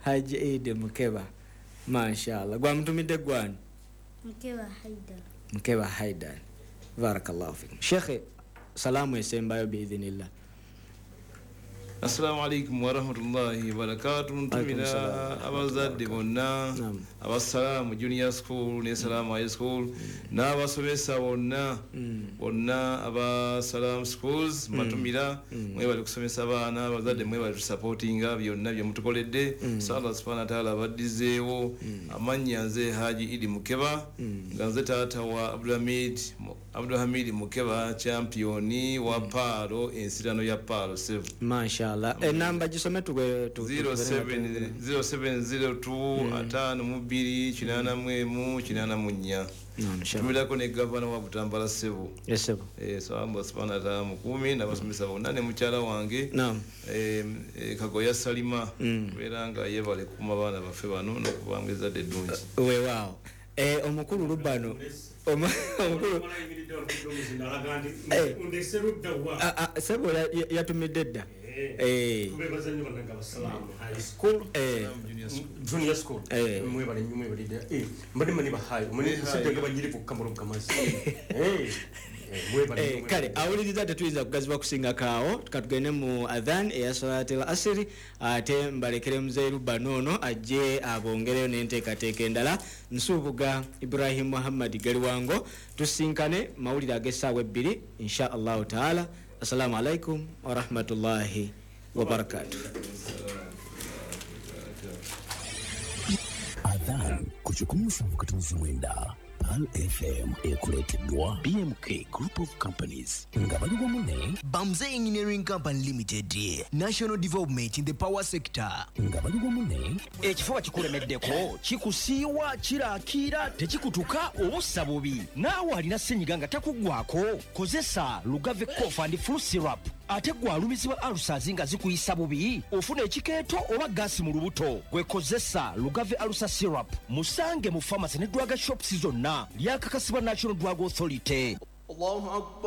Haji Idi Mukeba, mashallah. Gwamutumidde gwani? Mukeba Haidar. Mukeba Haidar, barakallahu fikum. Shekhe, salaamu esembayo biidhinillah. Assalamu alaikum warahmatullahi wabarakatu. Ntumira abazadde bonna abasalaamu Junior School ne Salaamu High School n'abasomesa bonna bonna aba Salaamu Schools. Mbatumira, mwebale kusomesa abaana. Abazadde mwebale tusupportinga byonna byemutukoledde. So Allah subhana wataala abaddizeewo. Amannya nze Haji Idi Mukeba, nga nze taata wa Abdulhamid Mukeba, championi wa paalo, ensirano ya paalo 7. Mashallah. Enamba gisome tuwe 0702 52 81 84. Tumirako ne gavana wa Butambala, sebo. Esebo. So Allah subhanahu wa ta'ala mukuumi n'abasomesa bonna ne mukyala wange Kagoya Salima, kubeera nga yebale kukuuma baana baffe bano n'okubanga ezzadde eddungi. Weewaawo. Omukulu Lubano, omukulu sebo yatumidde dda. Tubebaza nnyo bannange abasalaamu High School, Junior School. Mwebale nnyo, mwebalidde. Mbadde manyi bahayi omanyi musajja nga banyirivu kukamala obukamasi. Kale awuliriza, tetuyinza kugazibwa kusingakaawo. Katugende mu adhan eya salatil asiri, ate mbalekere muzeeyi Lubano ono ajje abongereyo n'enteekateeka endala. Nsuubuga Ibrahim Muhammad Galiwango, tusinkane mawulire ag'essaawa 2 insha Allahu taala. Assalamu alaikum warahmatullahi wabarakatuh. Adhan ku 107.9 Pearl FM ekuleeteddwa BMK Group of Companies nga bali wamu ne Bamze Engineering Company Limited, National Development in the Power Sector. Nga bali wamu ne Ekifuba kikulemeddeko, kikusiiwa, kirakiira, tekikutuka oba ossa bubi. Naawe alina senyiga nga takuggwako, kozesa Lugave Cough and Flu Syrup. Ate gwe alumizibwa ulcers nga zikuyisa bubi, ofuna ekikeeto oba gaasi mu lubuto, gwe kozesa Lugave Ulcer Syrup. Musange mu pharmacy ne drug shops zonna. Lyakakasibwa National Drug Authority.